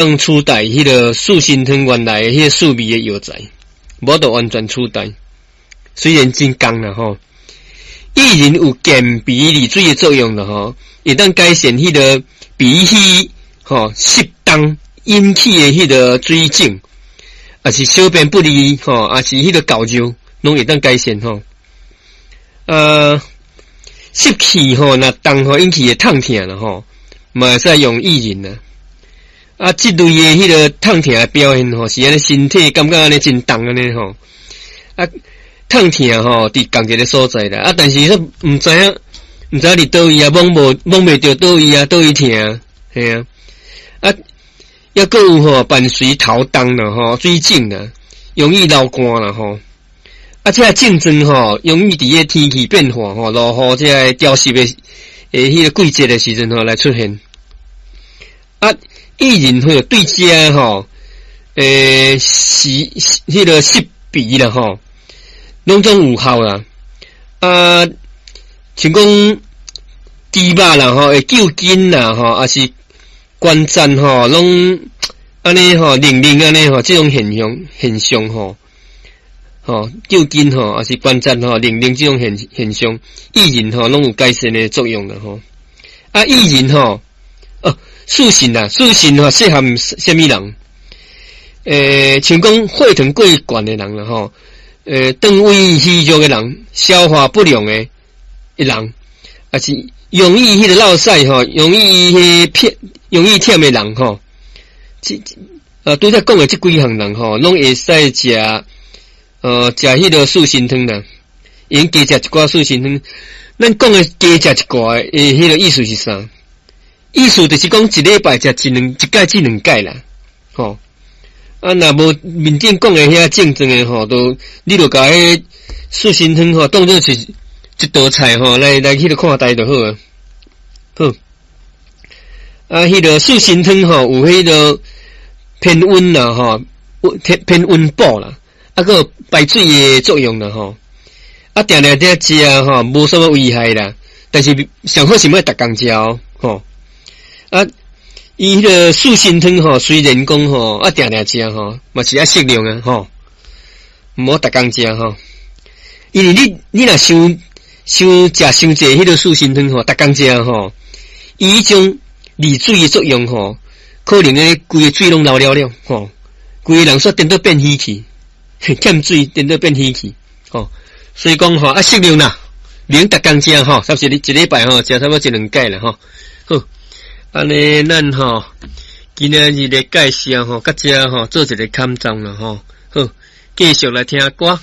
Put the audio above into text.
當取代彼个四神湯原來的彼个四味的藥材，無法度完全取代。雖然真仝啦吼，薏仁有健脾利水的作用啦吼，會當改善彼个脾虛吼濕重引起的彼个水腫，抑是小便不利吼，抑是彼个厚尿，攏會當改善吼。濕氣吼，若重吼引起的痛疼啦吼，嘛會使用薏仁啊。啊，這類的彼个痛疼的表現吼，是按呢身體感覺按呢真重按呢吼。啊，痛疼吼，佇仝一个所在啦。啊，但是說毋知影，毋知影佇佗位啊，摸無摸袂著佗位啊，佗位疼啊，嘿啊。啊，抑閣有吼伴隨頭重啦吼，水腫啦，容易流汗啦吼。啊，這个症狀吼，容易佇个天氣變化吼，落雨這个潮濕的彼个季節的時陣吼來出現。啊，薏仁會對這吼，是彼个濕鼻啦吼，攏總有效啦。啊，像講豬肉啦吼，會揪筋啦吼，抑是關節吼，攏按呢吼，冷冷按呢吼，這種現象現象吼，吼揪筋吼，抑是關節吼，冷冷這種現現象，薏仁吼攏有改善的作用啦吼。啊，薏仁吼，哦，四神啊，四神吼適合啥物人？像講血糖過懸的人啦吼，腸胃虛弱的人，消化不良的人，抑是容易彼个落屎吼，容易彼偏容易忝的人吼，這拄才講的這幾項人吼，攏會使食，食彼个四神湯啦，會用加食一寡四神湯。咱講的加食一寡的，彼个意思是啥？意思就是講一禮拜食一兩一擺至兩擺啦，吼。啊，若無面頂講的遐症狀的吼，都你就共彼四神湯吼當做是一道菜吼，來來彼个看待就好啊。好，啊，彼个四神湯吼有彼个偏溫啦吼，偏偏溫補啦，啊，閣有排水的作用啦吼。啊，定定佇食吼，無啥物危害啦。但是上好是莫逐工食哦，吼。啊，伊彼个四神湯吼，雖然講吼，啊，定定食吼，嘛是愛適量啊，吼，毋好逐工食吼。因為你你若傷傷食傷濟彼个四神湯吼，逐工食吼，伊彼種利水的作用吼，可能咧規个水攏流了了吼，規个人煞顛倒變虛去，欠水顛倒變虛去，吼。所以講吼，啊，適量啦，免逐工食吼，差不多一禮拜吼，食差不多一兩擺啦吼。好，按呢咱吼，今仔日的介紹吼，到這吼做一个坎站啦吼。好，繼續來聽歌。